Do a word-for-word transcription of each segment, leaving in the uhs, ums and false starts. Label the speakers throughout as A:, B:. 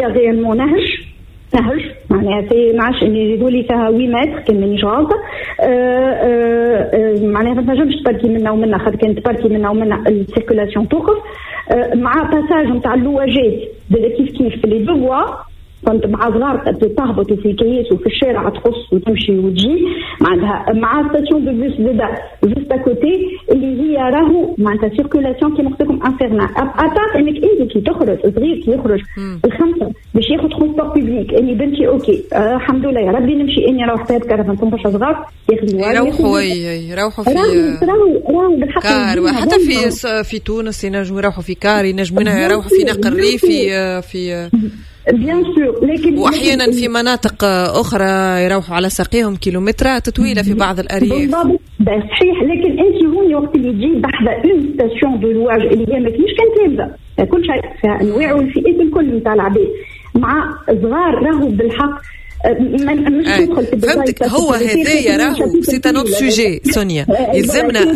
A: هي réellement نهج نهج، معناها c'est ما عادش يقولي فيها ثمانية متر كان مانيش غالطه. آه، آه، آه، معناها ما تنجمش تباركي منا ومنا، خاطر كان تباركي منا ومنا ال circulation توقف، مع passage نتاع اللواجات كيف كيف في les deux voies. كنت مع صغار تهبط في الكياس وفي الشارع تقص وتمشي وتجي، معناتها مع station de bus زاده juste à côté، اللي هي راهو معناتها circulation كيما قلت لكم infernale. à part انك انت كي تخرج صغير، كي يخرج الخمسة باش ياخذ transport public، اني بنتي OK آه الحمد لله يا ربي نمشي اني نروح فيها بكرهبة، برشا صغار.
B: يروحوا يروحوا في car، حتى في في تونس ينجموا يروحوا في car، ينجموا يروحوا في نقل ريفي في
A: bien sûr،
B: لكن واحيانا في مناطق اخرى يروحوا على ساقيهم كيلومترات طويلة في بعض الارياف.
A: بالضبط، صحيح. لكن انت هوني وقت اللي تجي بحذا une station de louage اللي هي ما كاينش كان تلامذه، كل شيء فيها، انواع والفئات الكل نتاع العباد مع صغار، راهو بالحق
B: مش تدخل في فهمتك. هو هذايا راهو c'est un autre sujet سونيا، يلزمنا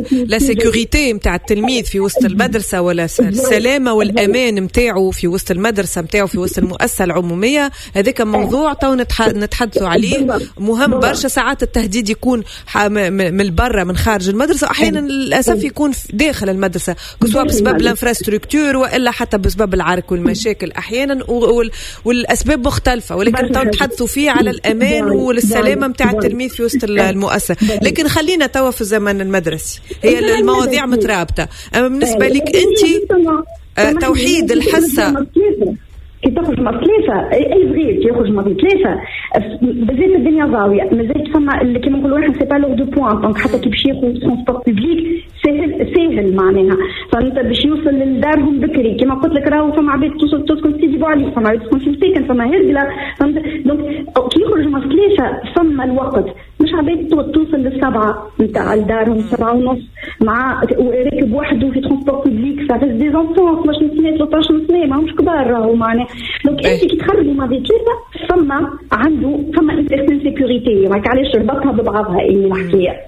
B: la sécurité نتاع التلميذ في وسط المدرسة ولا السلامة والامان نتاعو في وسط المدرسة نتاعو، في وسط المؤسسة العموميه. هذاك موضوع تو نتحدثوا عليه، مهم برشا. ساعات التهديد يكون من البرة، من خارج المدرسه، احيانا للاسف يكون داخل المدرسه، سواء بسبب l'infrastructure والا حتى بسبب العرك والمشاكل احيانا، والاسباب مختلفه، ولكن تو نتحدثوا فيه على الامان والسلامة نتاع التلميذ في وسط المؤسسه. لكن خلينا توا في الزمن المدرسي، هي المواضيع مترابطه. اما بالنسبة لك انت آه، توحيد الحصه؟
A: كي تخرج من ثلاثة، اي صغير كي يخرج من ثلاثة مازالت الدنيا ضاوية، مازالت فما كيما نقولوا احنا c'est pas l'heure de pointe، donc حتى كي باش ياخذ transport public ساهل ساهل معناها، فانت باش يوصل لدارهم بكري. كيما قلت لك راهو فما عباد توصل تسكن في سيدي بوعلي، فما عباد تسكن في مساكن، فما هرقله، فهمت؟ donc كي يخرج من ثلاثة فما الوقت، مش عباد توصل للسبعة نتاع لدارهم، سبعة ونص، مع راكب وحده في transport public، ça reste des enfants، اثناش سنة، ثلاثطاش سنة، ماهمش كبار راهو معناها. donc انت كي تخرجوا مع ثلاثة فما عنده فما une certaine sécurité. علاش ربطها ببعضها الحكاية.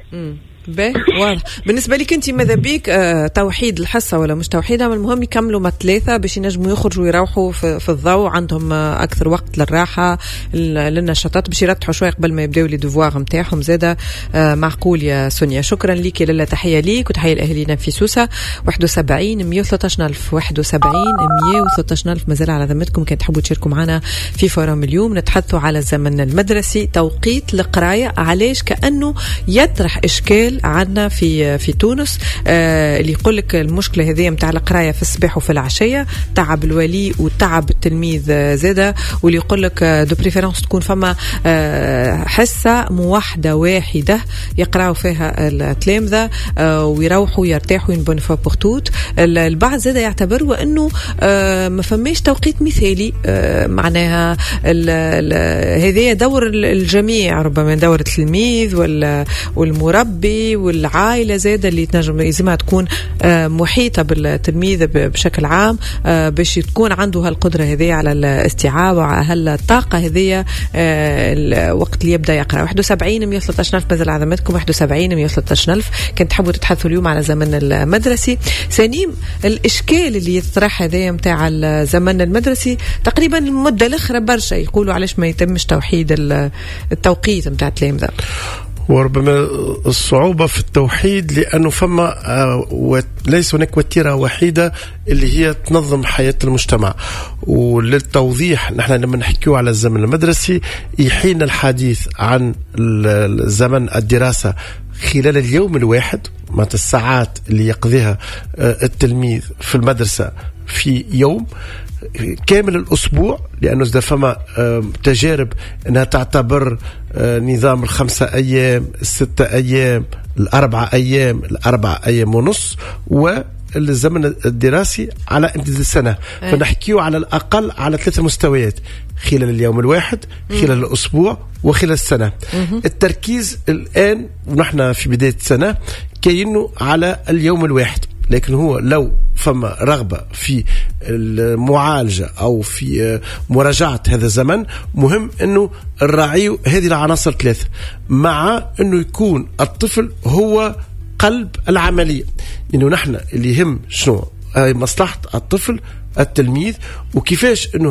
B: باهي، واضح. بالنسبة لك انت ماذا بيك آه توحيد الحصة ولا مش توحيدها، المهم يكملوا ما ثلاثة باش ينجموا يخرجوا ويروحوا في, في الضوء، عندهم آه اكثر وقت للراحه، للنشاطات، باش يرتاحوا شوية قبل ما يبداو les devoirs نتاعهم زاده. آه معقول يا سونيا، شكرا لك يا لاله، تحية ليك وتحية لاهالينا في سوسه. واحد وسبعين مية وثلاثطاش الف، واحد وسبعين مية وثلاثطاش الف، مازال على ذمتكم كان تحبوا تشاركوا معنا في forum اليوم. نتحدثوا على الزمن المدرسي، توقيت القرايه، علاش كانه يطرح اشكال عندنا في في تونس. آه اللي يقول لك المشكلة هذه نتاع القراية في الصباح وفي العشيه، تعب الولي وتعب التلميذ زاده، واللي يقول لك de préférence تكون فما آه حصة موحدة واحدة يقراوا فيها التلامذه آه ويروحوا يرتاحوا une bonne fois pour toutes. البعض زاده يعتبر انه آه ما فماش توقيت مثالي، آه معناها هذا دور الجميع، ربما دور التلميذ والمربي والعائلة زاده اللي تنجم يلزمها تكون آه، محيطه بالتلميذ بشكل عام آه، باش تكون عنده هالقدره هذه على الاستيعاب وهالطاقه هذه آه، وقت اللي يبدا يقرا. واحد وسبعين مية وثلاثطاش ألف، مازال على ذمتكم، واحد وسبعين مية وثلاثطاش ألف كان تحبوا تتحدثوا اليوم على زمن المدرسي. سليم، الاشكال اللي يطرح هذايا نتاع الزمن المدرسي تقريبا المدة الاخرى، برشا يقولوا علاش ما يتمش توحيد التوقيت نتاع التلامذه؟
C: وربما الصعوبة في التوحيد لأنه فما آه، ليس هناك وتيرة وحيدة اللي هي تنظم حياة المجتمع. وللتوضيح، نحن لما نحكيو على الزمن المدرسي يحين الحديث عن زمن الدراسة خلال اليوم الواحد، معناتها الساعات اللي يقضيها آه، التلميذ في المدرسة في يوم كامل الاسبوع، لانه اذا فما تجارب انها تعتبر آه، نظام الخمسة ايام، الستة ايام، الاربعة ايام، الاربعة ايام ونص، والزمن الدراسي على امتداد السنه. أي. فنحكيه على الاقل على ثلاث مستويات: خلال اليوم الواحد، خلال الاسبوع، وخلال السنه. مم. التركيز الان ونحن في بداية السنة كاينه على اليوم الواحد، لكن هو لو فما رغبة في المعالجة أو في مراجعة هذا الزمن، مهم أنه نراعي هذه العناصر الثلاثة، مع أنه يكون الطفل هو قلب العملية، لأنه نحن اللي يهم شنو؟ مصلحة الطفل، التلميذ، وكيفاش أنه